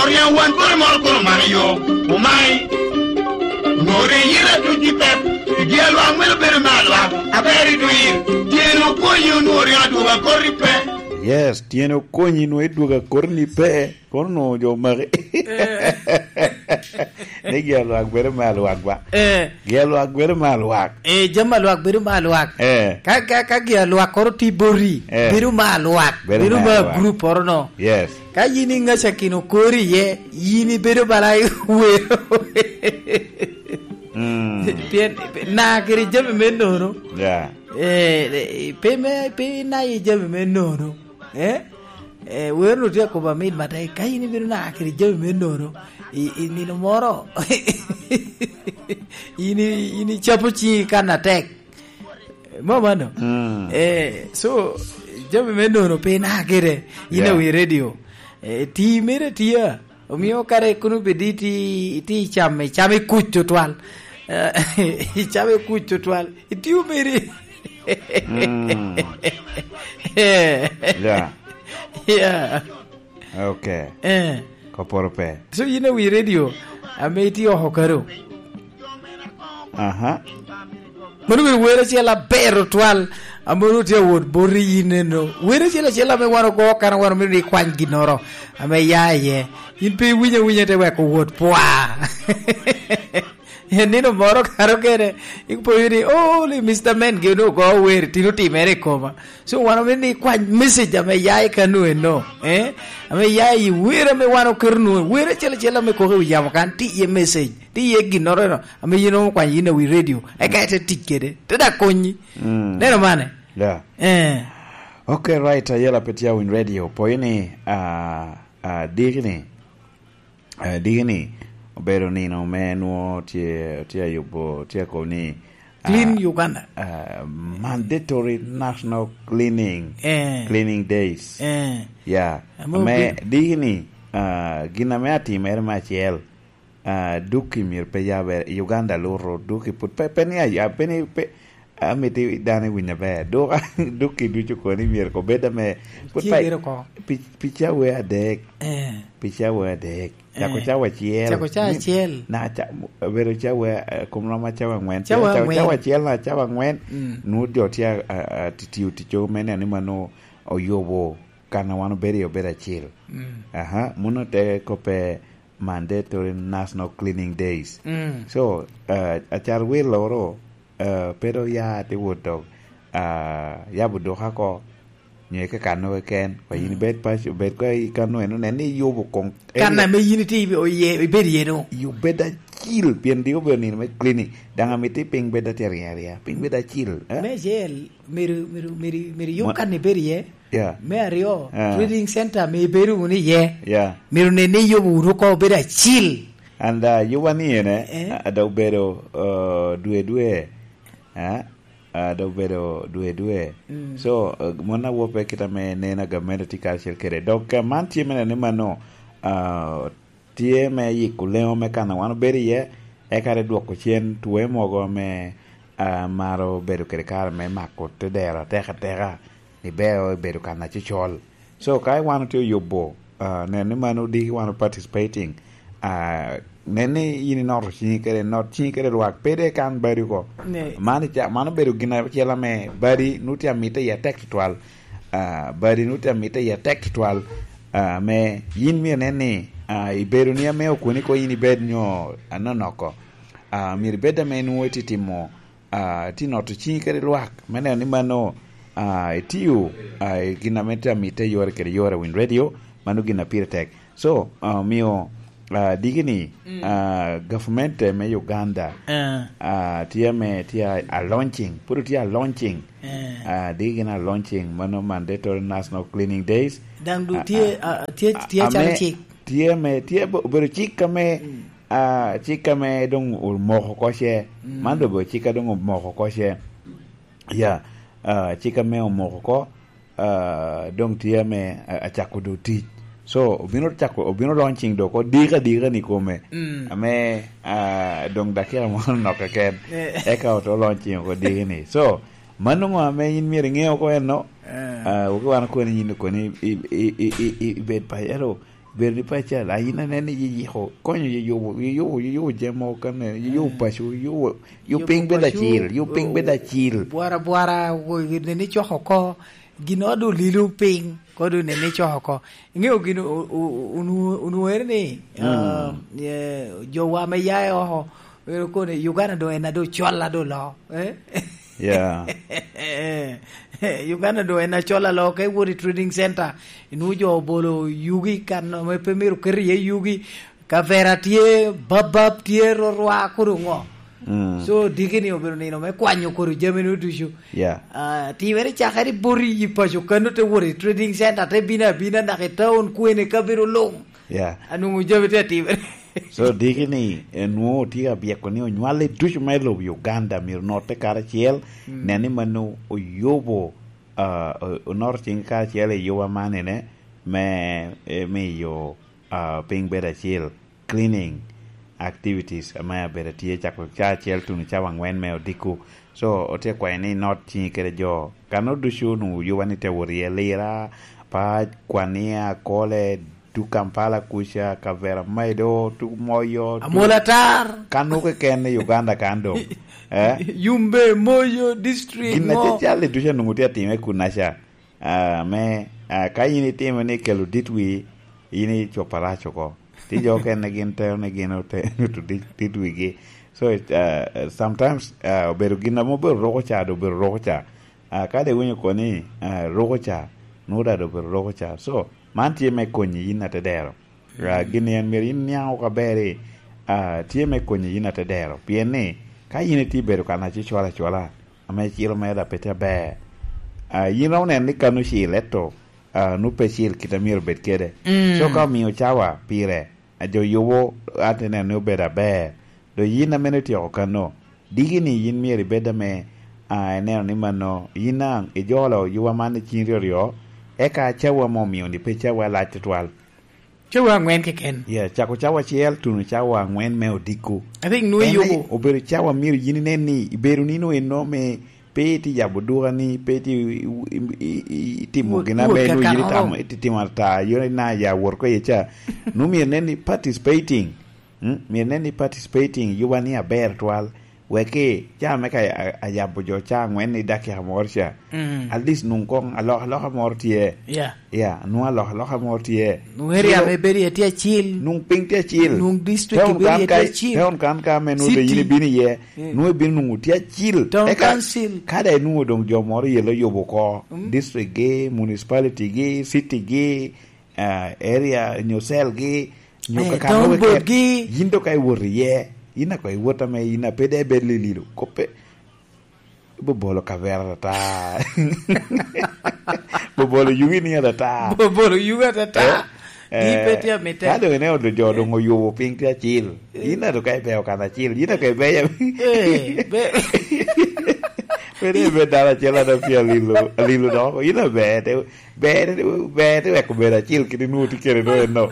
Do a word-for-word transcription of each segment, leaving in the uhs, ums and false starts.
Oriaŋ wan kore moro kore omako yo, omai. Onwoŋo ri yira tuc i pep, i dye lwak meno bedo me alwak, aber i dwir, tyen okonyi onwoŋo oriaŋ adwogo akor i pe. Yes, tyen okonyi nwoŋo idwogo akor ni pe, kono onwoŋo jo omaki. Eh. Ni gi alwak bedo me alwak ba. Eh. Gi alwak bedo me alwak. Eh, jami alwak bedo me alwak. Eh. Ka, ka, ka gi alwak koro tye boti, eh, bedo me alwak, bedo bedo me me alwak. Group oro no. Yes. Ka yin i ŋaca kin okori iye, yin ibedo bala i wero. Mm. Pien na kede jami me nono. Yeah. Eh, eh, pe me, pe na i jami me nono. Eh? Eh, wero no tye akobo amit matek. Ka yin ibedo na kede jami me nono, i, i nino moro, yin i, yin icapo ciŋi kan atek. Mo mano? Mm. Eh, so, jami me nono pe ina kede, yin, yeah, awi radio. Eh, ti mere tia. Omio kare kono bedi ti, ti cam, cam i kuc tutwal. Eh, cam i kuc tutwal. Itio meri. Mm. Eh. Yeah. Yeah. Okay. Eh. Koporo pe. So, yin awi radio, ame itye oko karo. Aha. Mano bedo wer acel aber otwal, ame onwoŋo tye awot boti yin eno. Wer acel acel ame wan ogo kan wan omito ni ikwany ginnoro, ame ya iye. Yin pe iwinyo awinya te wek owot pwa. En nino moro karo kene, ipoyo ni, "Oh, li Mister Men gin ogo wer, tino timere i koma." So, wan omito ni ikwany message ame ya i kano eno, eh? Ame ya i wer ame wan oketo nu, wer acel acel ame koko i wi yamo kan, ti iye message, ti iye ginnoro eno, ame yin okwany yin awi radio, eka ite tic kede, te dak konyi. Mm. Neno mane? Yeah. Eh. Okay, right, ayela pe tye awiny radio, poyo ni, ah, ah, diki ni, Eh, diki ni obedo nino me nwo tye, tye ayubo, tye akobo ni, ah, Clean Uganda. Ah, mandatory national cleaning, eh, cleaning days. Eh. Yeah. Ame ame obi- diki ni, ah, gin ame atimere me acel, ah, duki myero pe yabe, Uganda luto, duki put pe, pe ni aya, pe ni pe, Amito dano i winyo aber. Dok, dok i ducu kono ni myero kobed ame put tye pa, bedo oko. Pi, pi cawa adek. Eh. Pi cawa adek. Cako, eh, cawa acel. Cako cawa acel. Na ca, bedo cawa, eh, kom rom ma cawa angwen. Cawa, cawa angwen. Cawa acel na cawa angwen. Mm. Nwoŋo jo tye a, a, a, ti-, tiyo ticco me neno ni mano oyubo kan a wan obedo iye obedo acil. Mm. Aha, muno te kobbe mandatory national cleaning days. Mm. So, uh, acar wil loro, uh, pe dok ya te wot dok, uh, yabo duka oko, nyo ike kano keken, wa yin, mm, ibed paco, bed ka i kano eno, nen ni iyubo kong kan ame yin itye ibe-, oye-, ibed iye no. Yub bed acil, pien dik obedo nino me cleaning. Daŋ amito piny bed atye ariya ariya, piny bed acil, eh? Me acel, myero, myero, myero, myero yub ma-, kan ibed iye. Yeah. Me aryo, ah, trading center ame ibedo wunu iye. Yeah. Myero nen ni iyubo wunu oko obedo acil. And, uh, yuba ni ene, eh, a-, a dok bedo, uh, dwe dwe, eh? A dok bedo dwe dwe. Mm. So, uh, mon awope kit ame neno a gamente tye karacel kede. Dok, uh, man tye me neno ni mano, uh, tye me yiko leŋo me kan a wan obedo iye, eka te dwoko cen twoe mogo ame, ah, maro bedo kede kare me mako te dero atek ateka, ni beo ebedo kan acocol. So, ka wan otye oyubo, ah, nen ni mano diki wan o participating, ah, nen ni in inoto ciŋi kede, not ciŋi kede lwak, pe de kan badi oko. Ne. Man ica-, mano obedo gin acel ame badi nwoŋo tye amitte iye atek tutwal. Ah, badi nwoŋo tye amitte iye atek tutwal. Ah, ame yin myero inen ni, ah, ibedo ni ame okoni ko yin ibed nyo anonoko. Ah, myero ibed ame nwoŋo itye timo, ah, itye noto ciŋi kede lwak me neno ni mano, ah, itiyo, ah, i gin ame tye amitte yore kede yore i Win Radio, mano gin a pire tek. So, ah, omio, ah, diki ni, mm, ah, gavumenti me Uganda, eh, ah, tye ame tye a, a launching, pud tye a launching. Eh. Ah, diki gin a launching, mano mandatory national cleaning days. Daŋ du, ah, tye, ah, ah, tye, ah, tye calo ame cik. Tye ame, tye be-, obedo cik ame, mm, ah, cik ame doŋ omoko oko ce. Mm. Man doŋ obedo cik a doŋ omoko oko ce. Ya, ah, cik ame omoko oko, ah, doŋ tye ame a-, acako doŋ tic. So, obino cako, obino launching doŋ oko dika dika ni kome. Mm. Ame, ah, doŋ dakika moro nok keken. Eh. Eka oto launching oko diki ni. So, mano ŋo ame in myero iŋe oko eno? Eh. Ah, wek wan okoni yin okoni i, i, i, i, i, ibed pa, ento Bedo ni paco, a, in anene yiyiko, konyo yiyubo, yiyubo, yiyubo jami mogo kene, yiyubo paco, yiyubo, yiyubo piny bedo acil, yiyubo piny bedo acil. Bwara, bwara, wo-, nene coko oko, gin ode olilo piny, kodi nene coko oko. Iŋeo gin o-, o-, o-, onwo-, onwere ni, ah, eh, jowa me ya i oko, ero kono Uganda doŋ en ado col ado lo, eh? Yeah. Uganda doŋ en acol alo ka iwot i trading center, inwoŋo jo obolo yugi kan ame pe myero ket iye yugi, kavera tye, babab tye, rorwa, kodo ŋo. Mm. So, diki ni obedo nino me kwanyo kodo jami nu ducu. Yeah. Ah, timere cakere i boti i paco kano te wot i trading center, te bino abina naka i town kwene kabedo luŋ. Yeah. Anwoŋo jami tye atimere. So, diki ni, eh, nwoŋo otye ka byeko ni onywale ducu me lobo Uganda myero notte karacel, mm, nen ni mano oyubo, ah, o-, onoto cing karacel i yuba man ene me, eh, miyo, ah, piny bedo acil, cleaning activities ame abedo tye cako ca acel tuno cawa angwen me odiko. So, otye kwayo ni not ciŋi kede jo. Kano ducu onwoŋo yuba ni te wot iye Lira, Pac, Kwania, Akole, duk Kampala kuca, Kavera Medo, duk Moyo, duk Amola Tar. Kano keken i Uganda kan doŋ. Eh? Yumbe, Moyo, district. Gin mo. Acacal-li ducu onwoŋo tye atime kunaca. Ah, me, ah, ka in itimo ni kelo dit wi, in icopo arac oko. Ti jo okene gin tero ni gin ote-, oto dit, dit wigi. So, ah, sometimes, ah, obedo gin ame obedo roko ca, do obedo roko ca. Ah, ka de iwinyo koni, ah, roko ca, nwoŋo daŋ do obedo roko ca. So, man tye me konyi yin atedero. Ah, gin en myero in niaŋ oko aber i, ah, tye me konyi yin atedero. Pien ni, ka yin itye bedo kan acicwalo acwala, ame ciro mere daŋ pe tye aber. Ah, yin romo neno ni kan ocil, ento, ah, nwoŋo pe cil kit a myero obed kede. Mm. So, ka omio cawa pire, a jo yubo, an te neno ni obedo aber. Doŋ yin ame otyeko kano, diki ni yin myero ibed ame, ah, ineno ni mano, yin daŋ ijolo yuba man i ciŋ ryoryo, eka cawa ame omio-ni pe cawa alac tutwal. Cawa aŋwen keken. Yeah, cako cawa acel tuno cawa aŋwen me odiko. I think nwoŋo en yubo. Obedo cawa myero yin inen ni ibedo nino eno me pe iti yabo duka ni, pe iti i-, i-, i-, i-, itimo gin ame nwoŋo yin itamo, iti timo ata, yore na ya wot ko ye ca. Nwoŋo myero inen ni participating. Mm, myero inen ni participating yuba ni aber twal. Wek i caa me ka a-, ayabo jo caa aŋwen i dakika moro ca. Mm. At least nwoŋo koŋ alokaloka moro tye. Yeah. Yeah, nwoŋo alokaloka moro tye. Nwoŋo area me bedo iye tye acil. Nwoŋo piny tye acil. Nwoŋo district ibedo iye tye acil. Town kan ka ame nwoŋo doŋ yin ibino iye, mm, nwoŋo ibino nwoŋo tye acil. Town council. Eka ka daŋ inwoŋo doŋ jo moro yelo yubo oko, mm, district gi, municipality gi, city gi, ah, area nyo cell gi, nyo, eh, kakano town board gi. Yin doŋ ka iwot iye, yin ako iwot ame yin a pe de ibed lililo. Koppe, ibobolo kavera ata. Bobolo yugi ni ata. Bobolo yugi ata. Eh? Gi pe tye amite. Ka doŋ ineno jo doŋ oyubo piny tye acil. Eh. Yin a doŋ ka ibeyo kan acil. Yin a ka ibeyo. Eh, be- Pe ni ibedo dano acel a doŋ tye alilo, alilo dok. Yin a ber, te, ber, ber te weko bedo acil kit inwoŋo tye kede doŋ eno.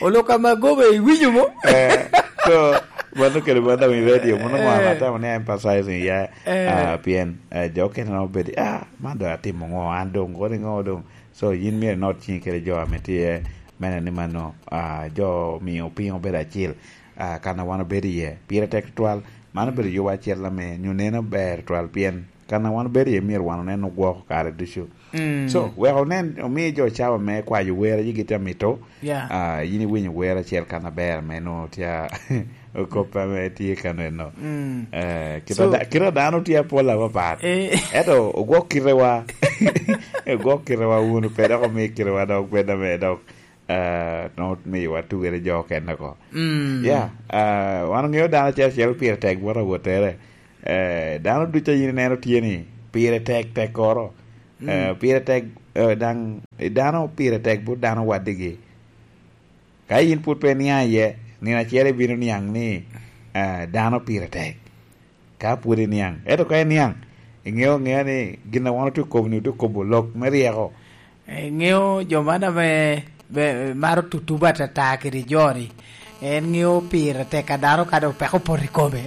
Olo ka ma gobe iwinyo mo? Eh, so, mano kede mano i radio, mano mo, eh, atamo ni emphasizing ya, eh, ah, pien, eh, jo okene nongo bedo, ah, man doŋ atimo ŋo, an doŋ, kodi ŋo doŋ. So, yin myero inot ciŋi kede jo ame tye, mene ni mano, ah, jo mio piny obedo acil. Ah, kan a wan obedo iye, pire tek tutwal. Man obedo yubo acel ame nyo neno ber tutwal, pien kan a wan obedo iye myero wan onen ogwoko kare ducu. Mm. So, wek onen, omi jo cawa me kwayo wer a yigi tye amito. Yeah. Ah, yin iwinyo wer acel kan aber ame nwoŋo tye a-, okop ame tye kan eno. Mm. Eh, kit a da-, kit a dano tye apol apapat. Eh. Ento ogwok kitewa. Ogwok kitewa wunu pe dok omi kitewa dok bed ame dok, eh, nwoŋo miyowa tugere jo okene oko. Mm. Yeah, ah, wan oŋeo dano acel acel pire tek bot awottere. Eh, dano ducu a yin ineno tye ni pire tek tekkoro. Mm. Eh, pire tek, eh, daŋ, dano pire tek bot dano wadigi. Ka yin pwod pe iniaŋ iye, nino acel ibino niaŋ ni, eh, dano pire tek. Ka pwod iniaŋ. Ento ka iniaŋ, iŋeo aŋea ni gin a wan otye kobo-ni, otye kobo lok me ryeko. Iŋeo jo man ame be-, maro tutuba atata kede jo-ni, en ŋeo pire tek a dano ka dok peko opoto i kome.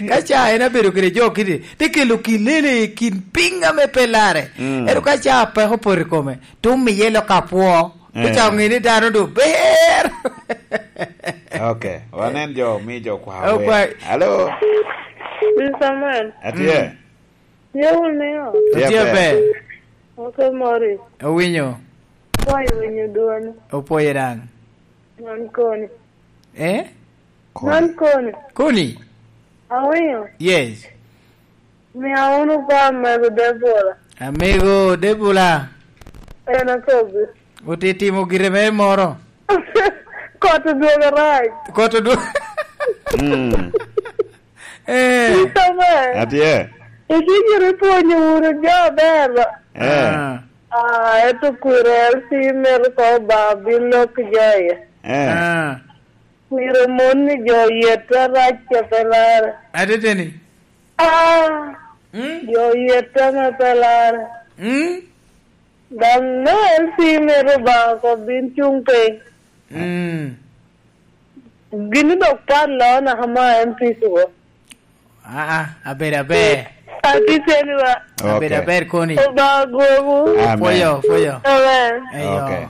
Ka ca en abedo kede jo kiti, te kelo kilele i kin piny ame pe larre. Mm. Ento ka ca peko opoto i kome, te omiye lok apwo. Te Eh. ca oŋe ni dano doŋ ber. Ok, wanen jo, omi jo kwa Oh, wer. kwa- Alo, Mister Samuel, atye. Mm. Tye wunu niyo? Tye Tye ber. ber. Ok, Morris. Owinyo. Kwayo winyo dwoni. Opwoye daŋ. Man koni. Eh? Koni. Man koni. Koni? Awinyo. Yes. Mia wunu kwa amego Debora. Amego Debora. En akobi. Otitimo gire mere moro. Kot odwogo rac. Kot odwogo. Mm. Eh. Itobe. Atye. Itye gire pwonyo wunu jo aber. Eh. Ah. Ah, eto kwiro L C mito ko ba bin lok jo ye. Eh. Ah. Kwiro mon ni jo yet arac ce pe lare. Adede ni. Ah. Mm. Jo yet ame pe lare. Mm. Daŋ no L C mito ba ko bin cuŋ piny. Mm. Gin dok pat lo naka ma M P C wo. Ah, ah, aber, aber. Ati teni ba. Abedo Okay. aber koni. Oba gobu. Amen. Foyo, foyo. Amen. Eyo. Okay.